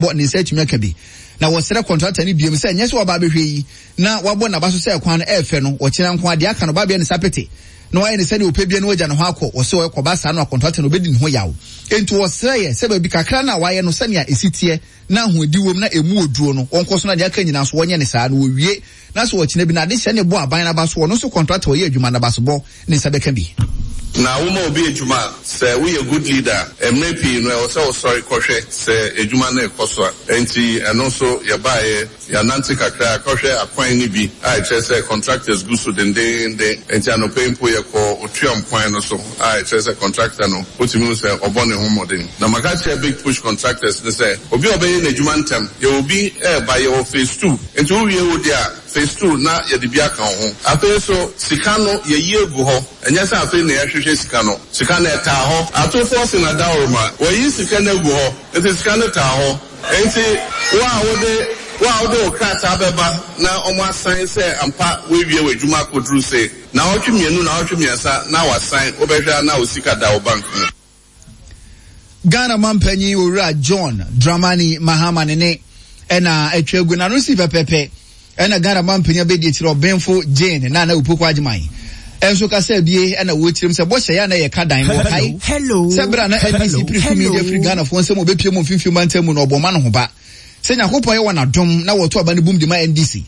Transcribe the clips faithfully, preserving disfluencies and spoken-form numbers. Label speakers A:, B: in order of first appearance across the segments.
A: Bɔ ne nsa atumi aka bi. Na wɔsrɛ kɔntrata no biom sɛ ɛnyɛ sɛ waba abɛhwɛ yi na wabɔ n'aba so sɛ kwan no ɛɛfɛ no, ɔkyena nko ara deɛ aka no ɔba abɛyɛ ne sapete na wayɛ no sɛdeɛ ɔpɛ biara na wagya ne ho akɔ. Wɔse ɔkɔba saa no a kɔntrata no ɔbɛdi ne ho yaw. Enti wɔsrɛeɛ sɛ baabi kakra no a wayɛ no sɛnea ɛsi teɛ na ahoɔdi wom na ɛmu wɔ duro no wɔnkɔ so na deɛ aka nyinaa nso wɔnyɛ no saa na wɔwie na sɛ ɔkyena bi no adehyɛ no bɔ aban no aba so ɔno nso kɔntrata a ɔyɛ adwuma no abasobɔ ne nsa bɛka bi.
B: Na woma obi adwuma a, sɛ woyɛ good leader a, mmerɛ pii no ɛwɔ sɛ wosɔre kɔhwɛ sɛ adwuma no rekɔ so a. Enti ɛno nso yɛbaeɛ, yɛanante kakra kɔhwɛ akwan no bi a ɛkyerɛ sɛ contractors gu so dendeenden. Enti anɔpa yi mpo yɛkɔɔ Otuam kwan no so a ɛkyerɛ sɛ contractor no wotumi hu sɛ ɔbɔ ne ho mmɔden. Na maka akyerɛ Big Push contractors no sɛ obi a ɔbɛyɛ n'adwuma ntɛm, yɛwɔ bi reba, yɛwɔ phase two, enti wowie wo deɛ a, Phase two na yɛde bi aka wo ho. Afei nso sika no yɛyi agu hɔ. Ɛnyɛ sɛ afei na yɛhwehwɛ sika no. Sika no ɛtaa hɔ. Atofoɔ se na dawuroma. Wɔayi sika no agu hɔ. Nti sika no taa hɔ. Nti wo a wode wo a wode wo krataa bɛba na wɔasan sɛ ampa woawie w'adwuma akɔduru se naawɔtwe mmienu, naawɔtwe mmiɛnsa na wɔasan, wobɛhwɛ a na wo sika da wo bank mu.
A: Ghana mampanyin Owura John Dramani Mahama ne ne ɛna atwa agu n'ano si pɛpɛpɛ ɛna Ghana mampanyin abɛdi akyire ɔbenfo Jane Nana Opoku Agyemang ɛnso kasa bie ɛna wɔkyerɛm sɛ bɔhyɛ yɛ a na yɛka dan no wɔkae sɛ berɛ a na N D C pere tumi de afiri Ghanafoɔ nsam wɔbɛpie mu mfimfini mantam mu na ɔbɔ ma no ho ba sɛ Nyankopɔn yɛ wɔn adom na wɔto aba no bum de ma N D C.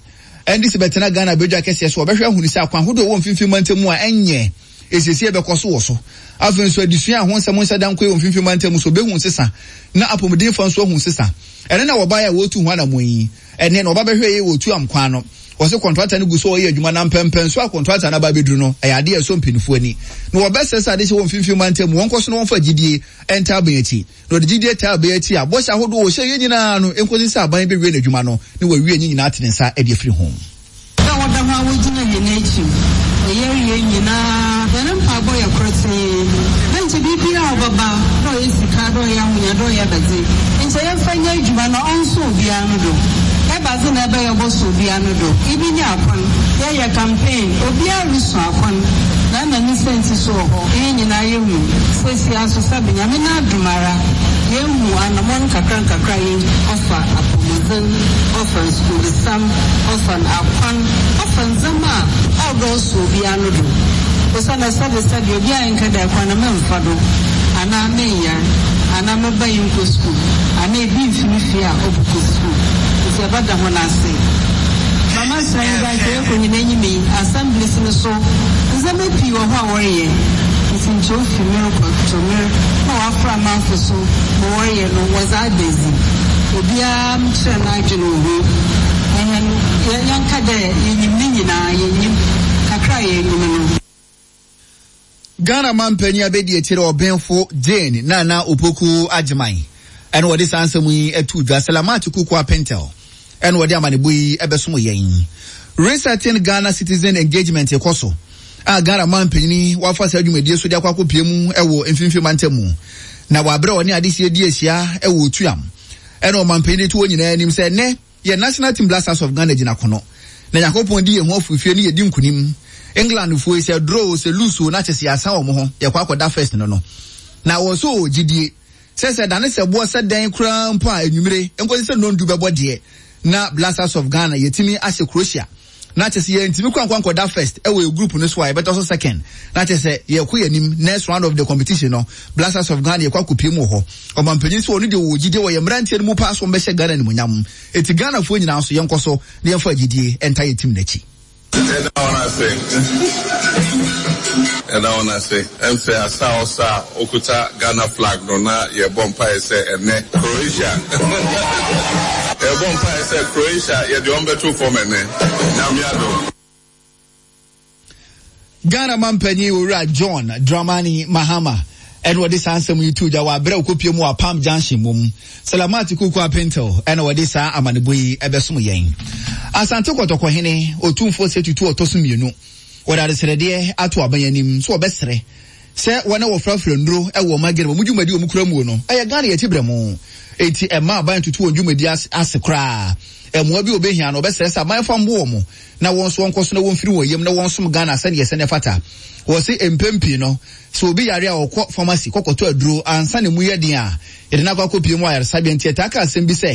A: N D C bɛtena Ghana badwa kɛseɛ so wɔbɛhwɛ ahunu sɛ akwan ahodoɔ wɔ mfimfini mantam mu a ɛnyɛ esiesie bɛkɔ so wɔ so. Afei nso adesua a ho nsɛm nhyɛ da nkɔ wɔ mfimfini mantam so bɛhu nsesa na apɔmuden fa nso ahu nsesa. Ɛne na wɔbaeɛ a wɔretu ho anammɔn yi. Ɛne na wɔba bɛhwɛ yɛ wɔ tu am kwan no. Wɔsɛ kɔntrata no gu so ɔyɛ adwuma na mpɛmpɛn so a kɔntrata no aba abɛduru no, ɛyɛ adeɛ a ɛsɔ mpanimfoɔ ani. Na wɔbɛsrɛ sɛ adehyɛ wɔ mfimfini mantam mu, wɔnkɔ so na wɔmfa gyidie ntaa aban akyi. Na wɔde gyidie taa aban akyi a, bɔhyɛ ahodoɔ wɔhyɛ yɛ nyinaa no, nkosi sɛ aban bɛwie n'adwuma no, na wɔawie ne nyinaa ate ne nsa de afiri ho.
C: Dɛ wɔda hɔ a wogyina hɛn ekyir wɔ yareyɛ nyina, hɛn mpaabɔ yɛ kortsee dɛ nkyɛ biribiara a ɔbɛba, dɛ ɔyɛ sika, dɛ ɔyɛ ahonya, dɛ ɔyɛ abɛdze, nkyɛ yɛmfa nyɛ edwuma na ɔnsɔ obiara no do. Ebɛnadze na ebɛyɛ ɔbɔsɔ obiara no do? Ibi nye akwan. Yɛyɛ campaign, obiara rusu akwan, na nna ne siantsir so wɔ hɔ. Hɛn nyina yehu. Seseiara so sɛbe Nyame n'adom ara, yeehu anamɔn nkakrankakra a yeetu ɔfa apɔwmudzen, ɔfa skuulsɛm, ɔfa akwan, ɔfa ndzɛmba a ɔwɔ dɛ ɔsɔ obiara no do. Osiandɛ sɛbesɛbe obiara nnkã dɛ kwan no memmfa do, anaa mennyar, anaa me ba yi nnkɔ skuul, anaa bi mmfi ne fie a ɔbɔkɔ skuul. Ntsi yɛbɛda hɔn ase. Mama srɛ nye dɛ nkyɛ yɛkɔ hɛn enyim yi, assemblies no so, ndzɛmba pii wɔ hɔ a wɔreyɛ. Ntsi nkyɛ ofi mer kɔ to mer na wɔafora amanfo so ma wɔreyɛ no, wɔdze ada edzi. Obiara nkyerɛ n'adwen wɔ ho. Hɛn yɛnka dɛ yenyim ne nyinaa, yennyim. Kakra a yenyim no.
A: Ghana mampanyin abɛdi akyire ɔbenfo Jane Nana Opoku Agyemang ɛna wɔde saa nsɛm yi ato dwa. Salamat Kuku Apintel ɛna wɔde amanebɔ yi ɛbɛsom yɛn. Resetting Ghana Citizen Engagement kɔ so a Ghana mampanyin wafa saa dwumadie so de akɔ akɔpie mu ɛwɔ mfimfini mantam mu na wabrɛ ɔne adehyɛ di ahyia ɛwɔ Otuam ɛna ɔmampanyin to wɔn nyinaa anim sɛ nnɛ yɛ national team Black Stars of Ghana gyina kono na Nyankopɔn di yɛn ho afurufie ne yɛdi nkunim. England foɔ yi, sɛ draw sɛ lose o, na kyɛ sɛ yɛasan wɔn ho yɛkɔ akɔda first no no na wɔ so wɔ gyidie sɛ sɛ dane sɛ boɔ sɛ dɛn koraa mpo a, enwumire nkosi sɛ nondu bɛbɔ deɛ na Black Stars of Ghana yɛtumi ahyɛ Croatia na kyɛ sɛ yɛntumi kɔ ankɔ ankɔda first ɛwɔ yɛ group no so a, yɛbɛtɔ so second na kyɛ sɛ yɛkɔ yɛn anim. Next round of the competition no, Black Stars of Ghana yɛkɔ akɔpie mu wɔ hɔ. Ɔmampanyin sɛ ɔno deɛ wɔ gyidie wɔ yɛn mmeranteɛ no mu paa so wɔmbɛhyɛ Ghana animuonyam, eti Ghanafoɔ nyinaa nso yɛnkɔ so na yɛmfa gyidie ɛnta yɛ team n'akyi.
B: Ɛda wɔn ase, ɛda wɔn ase. Ɛmfɛ asa a ɔsa a okuta Ghana flag no na yɛbɔ mpaeɛ sɛ ɛnɛ Croatia, yɛbɔ mpaeɛ sɛ Croatia yɛde wɔn bɛto fam ɛnɛ, Nyame adom.
A: Ghana mampanyin Owura John Dramani Mahama ɛna wɔde saa nsɛm yi to dwa wɔ aberɛ a wɔkɔpie mu wɔ Apam Junction mom. Salamat Kuku Apintel ɛna wɔde saa amanebɔ yi ɛbɛsom yɛn. Asante Kɔtɔkɔhene Otumfoɔ Sɛ Tutu ɔtɔ so mmienu wɔde adesrɛdeɛ ato aban anim so wɔbɛsrɛ sɛ wɔne wɔfrafra nnuro ɛwɔ ɔman Ghana mu dwumadi wɔn kura mu no, ɛyɛ Ghana yɛkyi brɛ mo, eti ɛma aban tutu wɔn dwumadi ase koraa. Ɛmoa bi obehia no, ɔbɛsrɛ sɛ aban fa mbo wɔn na wɔn nso wɔnkɔ so na wɔmfiri wɔn yam na wɔnsom Ghana sɛdeɛ ɛsɛ ne fata. Wɔsi mpɛn pii no, sɛ obi yare a, ɔkɔ pharmacy kɔkɔtɔ aduro ansa ne mu yɛ den a, yɛde no akɔ akɔpie mu ayaresabea. Nti ɛtaa ka asɛm bi sɛ